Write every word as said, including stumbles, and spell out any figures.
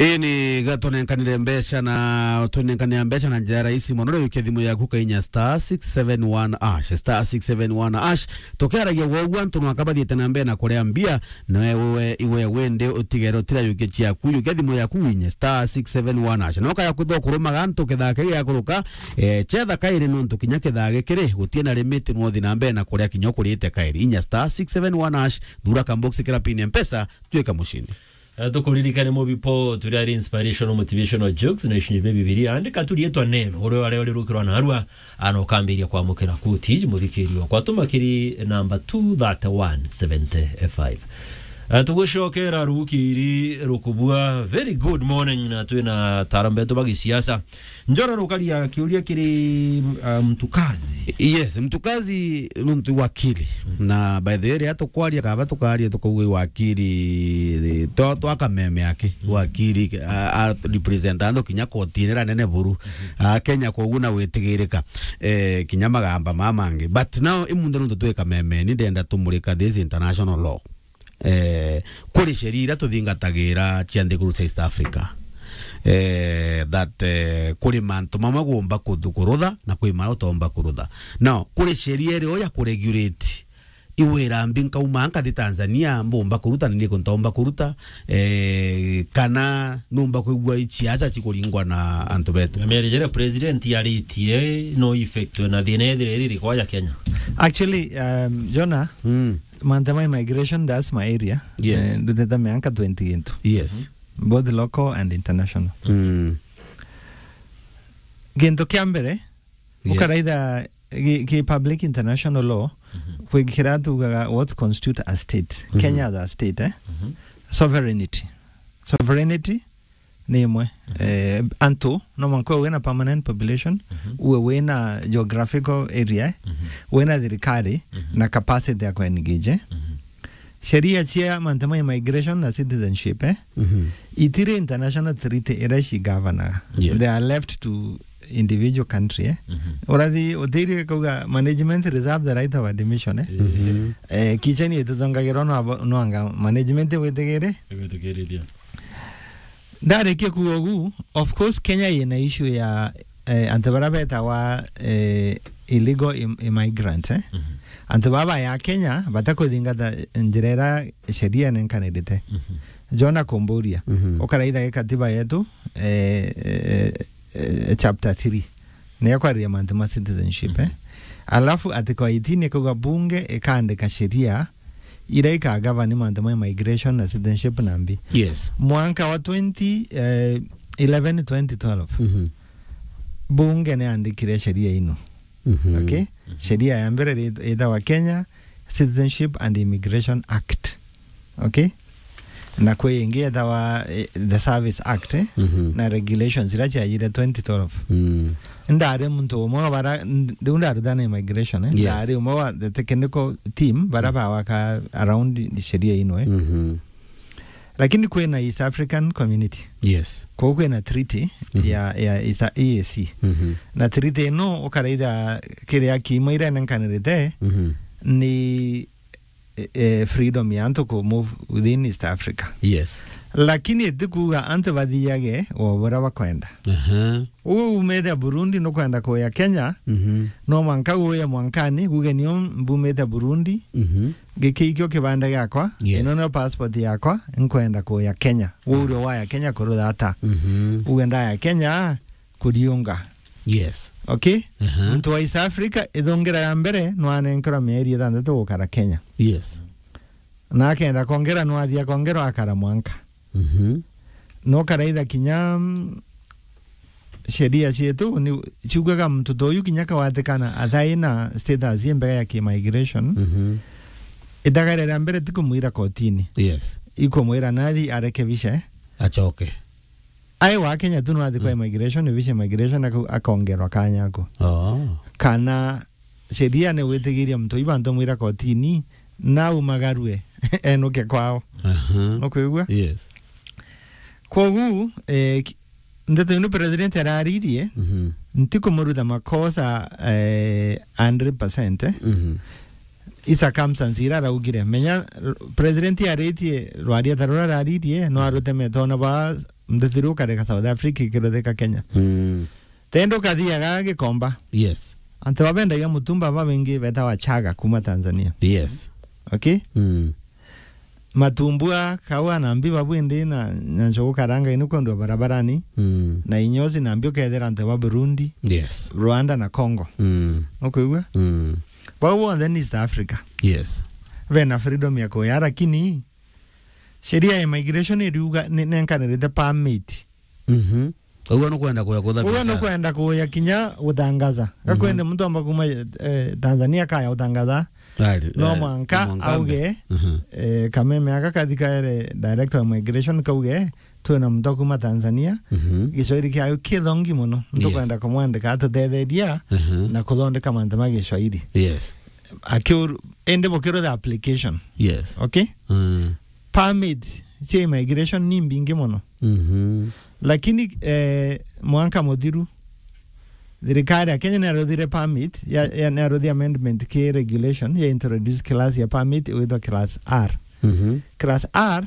Ii ni gatunenkanire mbeca na tunenkanire mbeca na njira rahisi mono. Riukia thimu yaku kainya star six seven one hash, star six seven one hash. Tukiaragia gwoguo antu nwaka bathiite na mbere na kuria mbia, nawe iwe wende utigere utira yukia ciaku, yukia thimu yaku winye star six seven one hash. No kaya kwithwa kurumaga antu kithake giakuruka, eh, chetha kairi nontu kinya kithage kiri gutie na limit, nwothi na mbere na kuria kinya ukurite kairi. Inya star six seven one hash, thura kambox kira pin ya Mpesa, tuika mushindi. Eh, tukuririkane Mubipo, turi ari inspirational motivational jokes na ishinyi bia Bibilia. Andika tu riitwa neno, uria wari uri rukirwa na arua, ana ukambiria kwamukira kuti iji muthikiri wakwa. Tuma kiri namba two thirty-one seventy-five. Eh, tugucokera rukiri rukubua. Very good morning, na twina tarambetu ba gisiasa. Njora rukaria kiuria kiri, uh, Mtukazi. Yes, Mtukazi nuntu wakili. Mm. Na by the way, riria tukwaria kaba tukaria tukauga wakili, to, twakameme aki, mm, wakili, a, a represent antu kinya kotini ra nene buru. Mm-hmm. A Kenya koguo na witigirika, eh, kinya magamba ma mangi. But now, imunde nuntu twi kameme, ni ndenda tumurika this international law. Eh, kuri sheria iria tuthingatagira cia nthiguru cia East Africa, eh, that, eh, kuri mantu mamwe gumba kuthu-, kurutha na kwi mara utomba kurutha. Now, kuri sheria irio ya kuregulate iwira mbi nkauma nkathi Tanzania, mbumba kuruta na niku ntomba kuruta, eh, kana numba kwigua ici acha cikuringwa na antu betu. Na miario jiria president aritie no effect na thina ethire iri rikwa ya Kenya. Actually, um, Jonah, mm, mantu ma immigration, that's my area. Yes. Eh, ndutete miaka twenty gintu. Yes. Both local and international. Mm. Gintu kia mbere, yes, ukaraitha ki, ki public international law, mhm, kwi kira tugaga what constitute a state. Mhm. Kenya as a state, eh? Mhm. Sovereignty. Sovereignty ni imwe. Mhm. Eh, antu, no mwanka uwe wina permanent population, mhm, uwe wina geographical area, mhm, wina thirikari, mhm, na capacity ya ku-engage. Mhm. Sheria cia mantu ma immigration na citizenship, eh, mhm, itiri international treaty iria cigavanaga. Yes. They are left to individual country, eh. Mhm. Urathi utiri kauga management reserve the right of admission, eh. Mhm. Eh, kicheni itutongagirwa no abo-, no anga management witigiri. Igwitikiriria. Ndarikia kuuga ugu, of course, Kenya yina issue ya, eh, antu bara betawa, eh, illegal im-, immigrants, eh? Mhm. Antu baba ya Kenya batakuthingata njira ira sheria nenkanirite. Mhm. Jona kumburia, mhm, ukaraitha gikatiba yetu, eh, eh, eh, chapter three. Niyo kwariria mantu ma citizenship, eh? Mhm. Alafu article eighteen ikauga bunge ikaandika sheria iria ikagavani mantu ma immigration na citizenship na mbi. Yes. Mwanka wa twenty, eh, eleven, twenty twelve, mhm, bunge niandikire sheria ino. Mhm. Okay? Mhm. Sheria ya mbere ri-, itawa Kenya Citizenship and Immigration Act. Okay? Na kwi ingi etawa, eh, the Service Act, eh, mhm, na regulations iria ciajire twenty twelve. Mm. Ndari muntu umwe wa bara, nd-, riu ndarutana immigration, eh. Yes. Ndari umwe wa the technical team bara, mm, bawaka around sheria ino, eh. Mhm. Lakini kwina East African Community. Yes. Kou kwina treaty, mhm, ya, ya East, E A C. Mhm. Na treaty ino ukaraitha kiria kiima iria nenkanirite, mhm, ni eh, eh, freedom ya antu ku move within East Africa. Yes. Lakini itikuuga antu bathiage o buria bakwenda. Aha. Uu umite Burundi nukwenda kuya Kenya, mhm, no mwanka uye mwankani, uge nio mbumite Burundi, mhm, giki ikio kibanda giakwa, yes, ino nio passport yakwa, nkwenda kuya Kenya. Uu urio waya Kenya kurutha ata? Mhm. Uge ndaya Kenya, kuriunga. Yes. Okay? Aha. Muntu wa East Africa, ithungira ya mbere, nwanenkerwa mieri ithantatu gukara Kenya. Yes. Na akenda kongera, nwathi akongerwa akara mwanka. Mhm. No karaitha kinya, mm, sheria cietu, ni, ciugaga muntu ta uyu kinya kawatikana athaina status ye mbega ya ki-migration, mhm, itagare ria mbere ti kumwira kotini. Yes. Ikumwira nathi arekebishe. Acoke. Ai wa Kenya tu no athi kwa, mm, immigration, ni bici immigration, ako-, akongerwa kanya ako. Oh. Kana sheria ni witigiria muntu iba ntomwira kotini, na umagarue, enuke kwao. Aha. Nukwigua? Yes. Kwogu, eh, ki-, ndeto ino president araririe, mhm, ntikumurutha makosa, eh, hundred percent, eh. Mhm. I circumstance ira araugire. Menya, r-, president aritie rwaria ta rura araririe, no arute metona ba Ndetheru ukareka South Africa ikiruthika Kenya. Mm. Tendo kathiaga Gikomba. Yes. Antu babendagia mutumba babengi betawa Chaga kuma Tanzania. Yes. Okay? Mm. Matumbua, kaua na mbi babu indi na, na njogu karanga inu kwendwa barabarani. Mm. Na inyozi na mbi ukethira antu ba Burundi, yes, Rwanda na Congo. Mm. Ukwigua? Mm. Bau bonthe ni East Africa. Yes. Bena freedom ya kuya, lakini sheria ya immigration iriuga ni, nenkanirite permit. Mhm. Uguo nukwenda kuya kutha. Uguo biacara. Nukwenda kuya kinya gutangaza. Mhm. Gakwende muntu amba kuma, eh, Tanzania kaya gutangaza. Ari, no, eh, mwanka, mwanka auge, mhm, eh, kameme aka kathi kaere director of immigration kauge, twina muntu kuma Tanzania, mhm, Giswahili kiayo kithongi muno. Yes. Ntukwenda kumwandika atutetheria, mhm, na kuthondeka mantu ma Giswahili. Yes. Akiur-, indi bukirutha application. Yes. Okay? Mm. Permit cia immigration ni mbingi muno. Mhm. Lakini, eh, mwanka muthiru, thirikari ya Kenya niaruthire permit, ya, ya, niaruthire amendment ki regulation, ya introduce class ya permit, igwitwa class R. Mhm. Class R